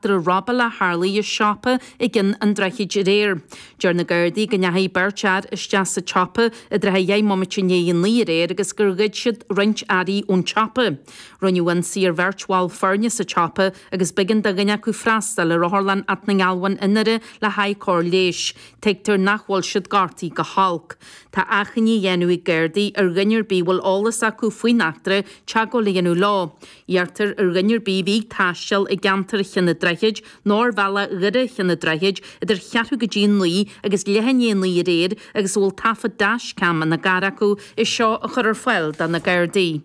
Eachtra robála a tharlaigh i siopa i gCionn an Droichid aréir. Deir na Gardaí go ndeachaigh beirt fhear isteach sa tsiopa i dtrátha dheich mbomaite i ndiaidh a 9 aréir agus gur ghoid siad roinnt earraí ón tsiopa. Rinneadh ionsaí ar bheirt bhall foirne sa tsiopa agus b'éigean do dhuine acu freastal ar Otharlann Áth na nGealbhán i nDoire le haghaidh cóir leighis. Tuigtear nach bhfuil siad gortaithe go holc. Tá achainí á dhéanamh ag Gardaí ar dhuine ar bith a bhfuil eolas acu faoin eachtra teagmháil a dhéanamh leo. Iarrtar ar dhuine ar bith a bhí ag taisteal i gceantar Chionn an Droichid nó ar bhealach Dhoire Chionn an Droichid idir cheathrú go dtí a 9 agus leath i ndiaidh a 9 aréir agus a bhfuil taifead dashcam ina gcarr acu é seo a chur ar fáil do na Gardaí.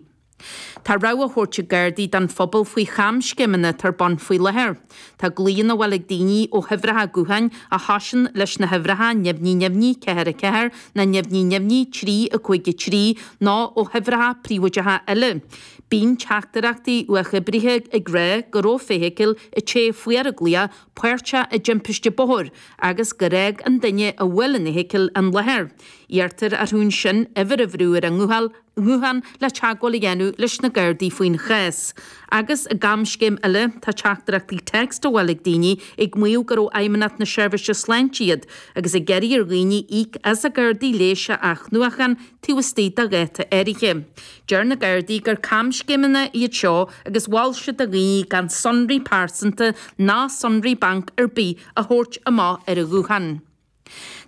Tá rabhadh á thabhairt ag Gardaí don phobal faoi chamscéimeanna atá ar bun faoi láthair. Tá glaonna á bhfáil ag daoine ó huimhreacha gutháin a thosaíonn leis na huimhreacha neamhní neamhní 4 4 nó neamhní neamhní 3 5 3 nó ó huimhreacha príobháideacha eile. Bíonn teachtaireachtaí uathoibrithe ag rá go raibh feithicil a téadh faoi ar an glaoch páirteach i dtimpiste bóthair agus gur fhág an duine a bhuail an fheithicil an láthair. Iarrtar orthu ansin uimhir a bhrú ar a nguthán le teagmháil a dhéanamh leis na Gardaí faoin chás. Agus i gcamscéim eile, tá teachtaireachtaí téacs á bhfáil ag daoine ag maíomh gur ó Fheidhmeannacht na Seirbhíse Sláinte iad agus ag iarraidh ar dhaoine íoc as a gcártaí leighis a athnuachan taobh istigh de dháta áirithe. Deir na Gardaí gur camscéimeanna iad seo agus mhol siad do dhaoine gan sonraí pearsanta ná sonraí bainc ar bith a thabhairt amach ar an ghuthán.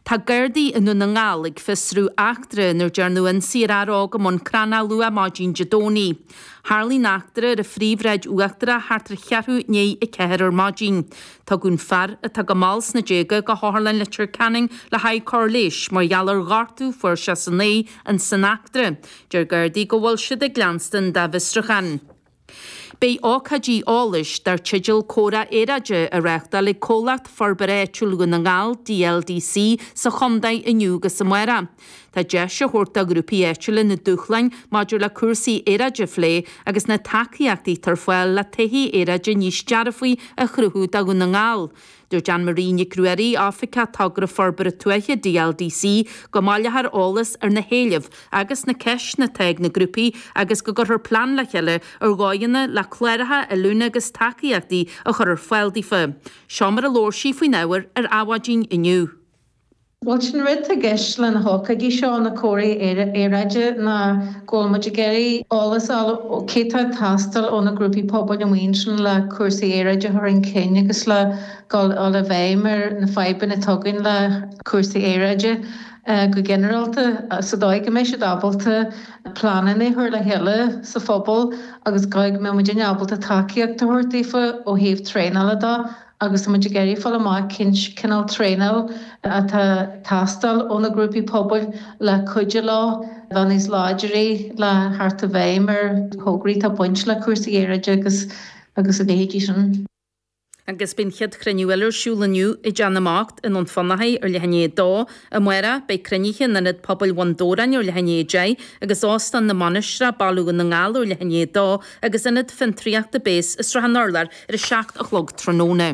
Tá Gardaí i nDún na nGall ag fiosrú eachtra inar dearnadh ionsaí ar fhear óg i mBun Cranncha luath maidin Dé Domhnaigh. Tharlaigh an eachtra ar an Phríomhshráid Uachtarach thart ar cheathrú i ndiaidh a 4 ar maidin. Tugadh an fear, atá go mall sna déaga, go hOtharlann Leitir Ceanainn le haghaidh cóir leighis mar gheall ar ghortú a fuair sé san aghaidh in san eachtra. Deir Gardaí go bhfuil siad ag leanstan dá bhfiosrúchán. Beidh ócáidí eolais dar teideal Comhrá Aeráide á reáchtáil ag Comhlacht Forbartha Áitiúil Dhún na nGall, DLDC, sa chontae inniu agus amárach. Tá deis á thabhairt do ghrúpaí áitiúla na dúshláin maidir le cúrsaí aeráide a phlé agus na tacaíochtaí atá ar fáil le todhchaí aeráide níos dearfaí a chruthú do Dhún na nGall. Dúirt Anne Marie Nic Ruairí, Oifigeach Togra Forbartha Tuaithe DLDC, go mbaileofar eolas ar na héilimh agus na ceisteanna atá ag na grúpaí agus go gcuirfear plean le chéile ar dhóigheanna le cláracha oiliúna agus tacaíochtaí a chur ar fáil daofa. Seo mar a labhair sí faoin ábhar ar Adhmhaidin inniu. Bhuel, sin rud atá i gceist le na hócáidí seo, na comhráí aeráide, ná go bhfuil muid ag iarraidh eolas a fháil ó cé tá ag teastáil ó na grúpaí pobail amuigh ansin le cúrsaí aeráide a chur chun cinn agus le dul i bhfeidhm ar na fadhbanna atá againn le cúrsaí aeráide go ginearálta sa dóigh go mbeidh siad ábalta pleananna a chur le chéile sa phobal agus go mbeidh muidinne ábalta tacaíocht a thabhairt daofa ó thaobh traenála de. agus tá muid ag iarraidh fáil amach cén cineál traenáil atá ag teastáil ó na grúpaí pobail le cuidiú leo bheith níos láidre le theacht i bhfeidhm ar thograí atá ag baint le cúrsaí aeráide agus agus a leithéidí sin. Agus beidh an chéad chruinniú eile ar siúl inniu i dTeach na mBocht i nDún Fionnachaidh ar leath i ndiaidh a 2. Amárach, beidh cruinnithe in Ionad Pobail Bhun Dobhráin ar leath i ndiaidh a 10 agus Óstán na Mainistreach, Baile Dhún na nGall ar leath i ndiaidh a 2 agus Ionad Fiontraíochta Béas i Srath an Urláir ar a 7 a chlog tráthnóna.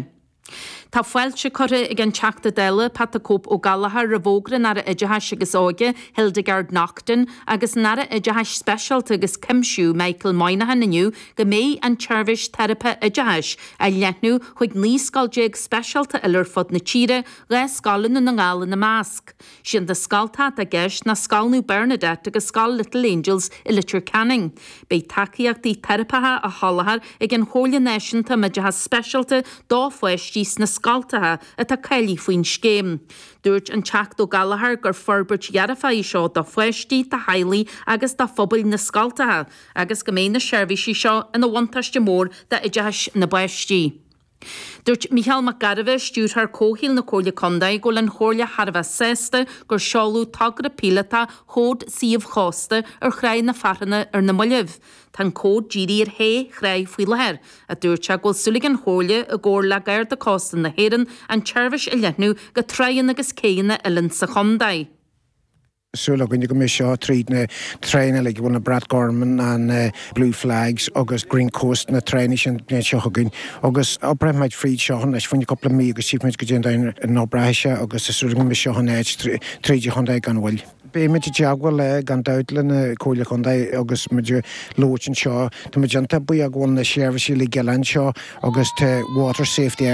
Tá fáilte curtha ag an Teachta Dála, Pat the Cope Ó Gallchóir roimh fhógra an Aire Oideachais agus Óige, Hildegarde Naughton, agus an Aire Oideachais Speisialta agus Cuimsiú, Michael Moynihan inniu go mbeidh an tseirbhís teiripe oideachais á leathnú chuig 19 scoil speisialta eile ar fud na tíre, 2 scoil i nDún na nGall ina measc. Siad na scoltacha atá i gceist ná Scoil Naomh Bernadette agus Scoil Little Angels i Leitir Ceanainn. Beidh tacaíochtaí teiripeacha á sholáthar ag an Chomhairle Náisiúnta um Oideachas Speisialta do pháistí sna scoltacha atá cáilithe faoin scéim. Dúirt an Teachta Ó Gallchóir gur forbairt dhearfach í seo do pháistí, do theaghlaigh agus do phobail na scoltacha agus go mbeidh na seirbhísí seo ina bhuntáiste mór d'oideachas na bpáistí. Dúirt Mícheál Mac Gairbheith, Stiúrthóir Comhshaoil na Comhairle Contae, go bhfuil an Chomhairle thar a bheith sásta gur seoladh togra píolótach Chód Suímh Chósta ar Thráigh na Fearthanna ar na mallaibh. Tá an cód dírithe ar shé thráigh faoi láthair, ach dúirt sé go bhfuil súil ag an Chomhairle, i gcomhar le Garda Cósta na hÉireann, an tseirbhís a leathnú go tráigheanna agus céidheanna eile sa chontae. Súil againne go mbeidh seo tríd na tránna uilig, a bhfuil na Brat Gorm, an Blue Flags agus Green Coast, na tránna sin an bhliain seo chugainn. Agus oibreoidh muid fríd seo anois fá choinne cúpla mí agus tchífimid goidé an dóigh a n-oibreoidh sé agus tá súil agam go mbeidh seo in áit tríd an chontae gan mhoill. Beidh muid i dteagmháil le, gan dabht, le na Comhairle Contae agus muid ag labhairt anseo. Tá muid iontach buíoch go bhfuil na seirbhísí uilig eile anseo agus tá Water Safety.